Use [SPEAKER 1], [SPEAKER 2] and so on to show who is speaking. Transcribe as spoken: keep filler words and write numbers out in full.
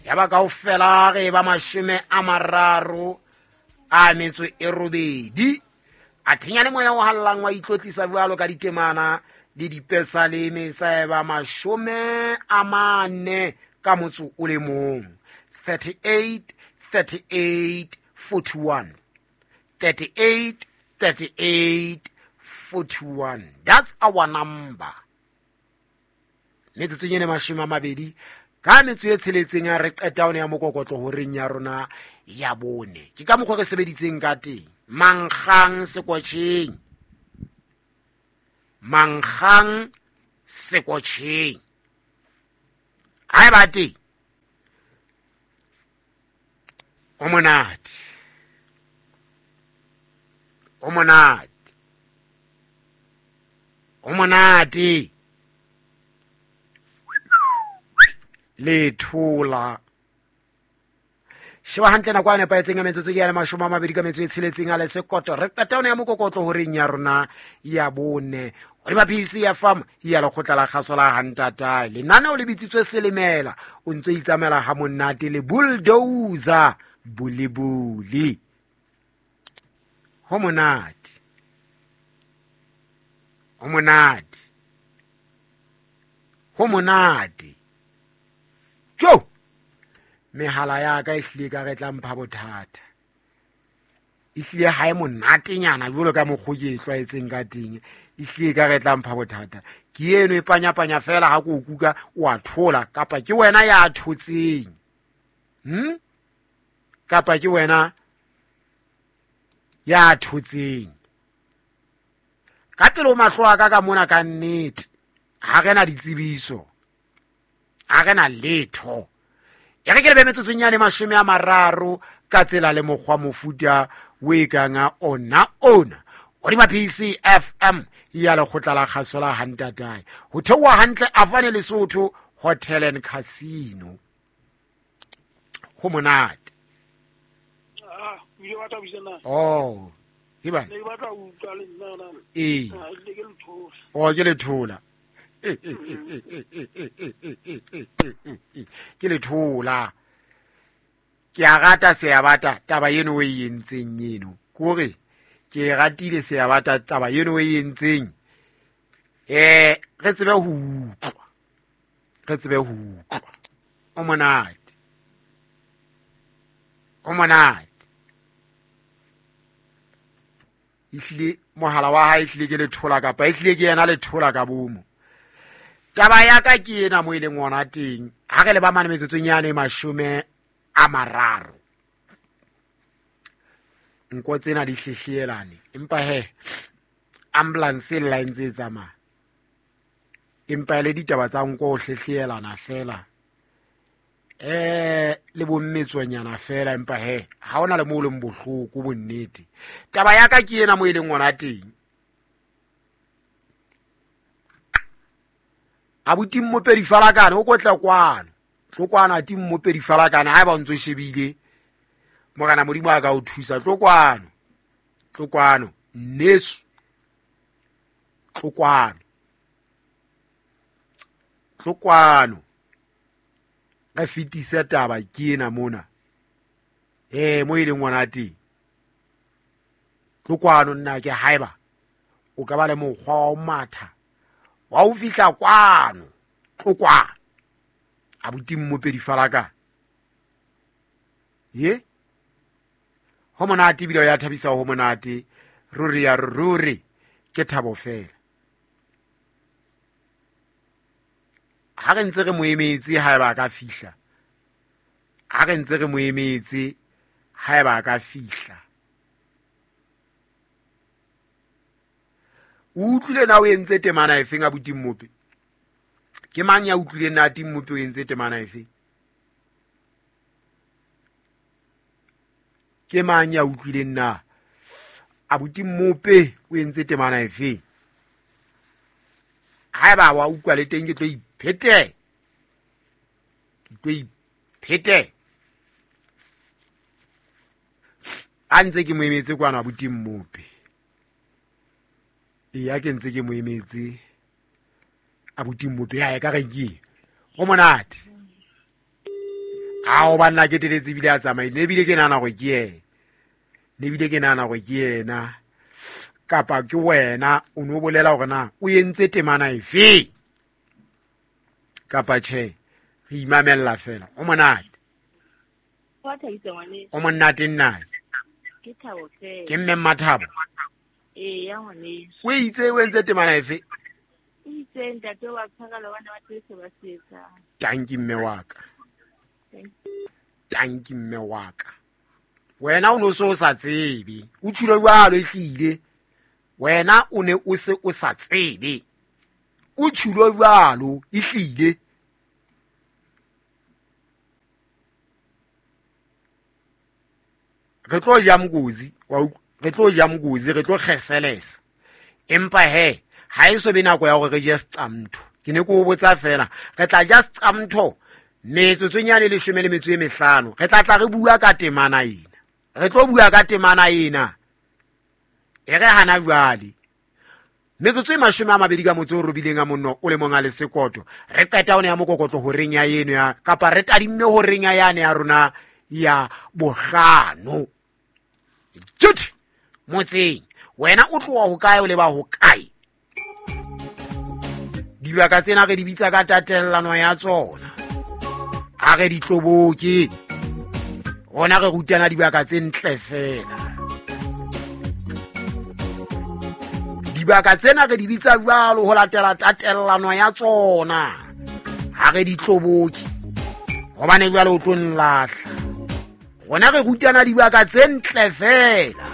[SPEAKER 1] Ya ba kaofela re ba mashome a mararo a metso e robedi. A thenya le moya o hallang wa itlotlisa jwalo ka ditemana le dipesaleme sa eba mashome a mane ka motso o le mong. thirty-eight thirty-eight forty-one. thirty-eight thirty-eight forty-one. That's our number. Metsotsong ene mashome a mabedi ka metso e tsheletseng a re qeta one ya mokokotlo horeng ya rona ya bone. Ke ka mokgwa re sebeditseng ka teng. Mankgang sekotjheng. Mankgang sekotjheng. Ha e ba teng. O monate. O monate. O monate. Le thola. Sheba hantle nako a nepahetseng ya metsotso ke ya mashome a mabedi ka metso e tsheletseng a le sekoto. Re qeta one ya mokokotlo horeng ya rona ya bone. Hodima P C F M ya lekgotla la kgaso la Hantatae. Lenaneo le bitsitswe Selemela. O ntso itsamela ha monate le bulldozer bulibuli. Ho monate. Ho monate. Ho monate. Jo! Mehala ya ka e hlile ka re tla mpha bothata. E hlile ha e monatenyana jwalo ka mokgwa ke e tlwaetseng ka teng. E hlile ka re tla mpha bothata. Ke eno e panyapanya fela ha ko kuka o a thola kapa ke wena ya thotseng. Hm? Kapa ke wena ya thotseng. Ka pele o mahlo a ka ka mona ka nnete. Ha re na ditsebiso. Ha re na letho. Ya re ke le be metsotsong ya le mashome a mararo ka tsela le mokgwa mofuta o e kang ona ona. Hodima P C F M ya lekgotla la kgaso la Hantatae. Ho theoha hantle Afane Lesotho Hotel and Casino. Ho monate.
[SPEAKER 2] Ah, o ile wa thabisa na?
[SPEAKER 1] Oh, ke bana.
[SPEAKER 2] Ne ke batla ho utlwa le nna na.
[SPEAKER 1] Ee.
[SPEAKER 2] Ah, ke le thola.
[SPEAKER 1] Oh, ke le thola. Ke le thola. Ke a rata Seabata taba eno o e entseng eno. Kore ke ratile Seabata taba eno o e entseng. Eh, re tsebe ho utlwa. Re tsebe ho utlwa. O monate. O monate. Ehlile mohala wa hae ehlile ke le thola kapa ehlile ke yena le thola ka bomo. Taba ya ka ke ena mo e leng ona teng. Ha re le ba mane metsotsong yane mashome a mararo. Nko tsena di hlehlelane. Empa he ambulance e lla e ntse e tsamaya. Empa le ditaba tsa nko ho hlehlelana fela. Eh le bommetsonyana fela empa he ha ona le mo leng bohloko bonnete. Taba ya ka ke ena mo e leng ona teng. Abuti Mmopedi Falakane o kotla kwano. Tlo kwana ati Mmopedi Falakane ha ba o ntso shebile. Morena Modimo a ka o thusa tlo kwano. Tlo kwano nneso. Tlo kwano. Tlo kwano. Re fetise taba ke ena mona. Eh mo e leng ngwana teng. Tlo kwano nna ke haeba o ka ba le mokgwa wa matha. Wa o fihla kwano. Tlo kwano. Abuti Mmopedi Falakane. Ye? Ho monate ebile ya thabisa ho monate. Ruri ya ruri ke thabo fela. Ha re ntse re mo emetse haeba a ka fihla. Ha re ntse re mo emetse haeba a ka fihla. O utlwile na o entse temana efeng abuti Mmope? Ke mang ya utlwileng na ati Mmope o entse temana efeng? Ke mang ya utlwileng na abuti Mmope o entse temana efeng? Haeba wa utlwa le teng ke tlo iphete. Ke tlo iphete. A ntse ke mo emetse kwana abuti Mmope. Eya ke ntse ke mo emetse abuti Mmope ya ka re ke. Ho monate. Ao banna ke teletse ebile a tsamaile, ne ebile ke nahana hore ke yena, ne ebile ke nahana hore ke yena kapa ke wena o no bolela hore na o entse temana efe kapa tjhe. Re imamella fela. O monate.
[SPEAKER 3] Wa thabisa ngwaneso.
[SPEAKER 1] O monate nna.
[SPEAKER 3] Ke thabo fela.
[SPEAKER 1] Ke mme Mmathabo.
[SPEAKER 3] Ee, ya ngwaneso.
[SPEAKER 1] O itse o entse temana efe?
[SPEAKER 3] O itse ntate wa tshwarela bana ba tse ba se etsang.
[SPEAKER 1] Tanki mme wa ka. Tanki mme wa ka. Wena o no so sa tsebe. O tshilo jwalo e tlile. Wena o ne o se o sa tsebe. O tshilo jwalo e tlile. Re tlo ja mokozi, wa utlwa? Re tlo ja mokozi, re tlo kgeselesa. Empa he, ha e so be nako ya hore re je seqamtho. Ke ne ke o botsa fela, re tla ja seqamtho metsotsong yane leshome le metso e mehlano. Re tla tla re bua ka temana ena. Re tlo bua ka temana ena. E re hana jwale. Metsotso e mashome a mabedi ka motso o robileng a monno o le mong a le sekoto. Re qeta one ya mokokotlo horeng ya eno ya kapa re tadimme horeng ya yane ya rona ya bohlano. Tjut motseng wena o tloha ho kae o leba ho kae? Dibaka tsena re di bitsa ka tatellano ya tsona. Ha re di tloboke. Rona re rutana dibaka tse ntle fela. Dibaka tsena re di bitsa jwalo ho latela tatellano ya tsona. Ha re di tloboke. Hobane jwale o tlo nlahla. Rona re rutana dibaka tse ntle fela.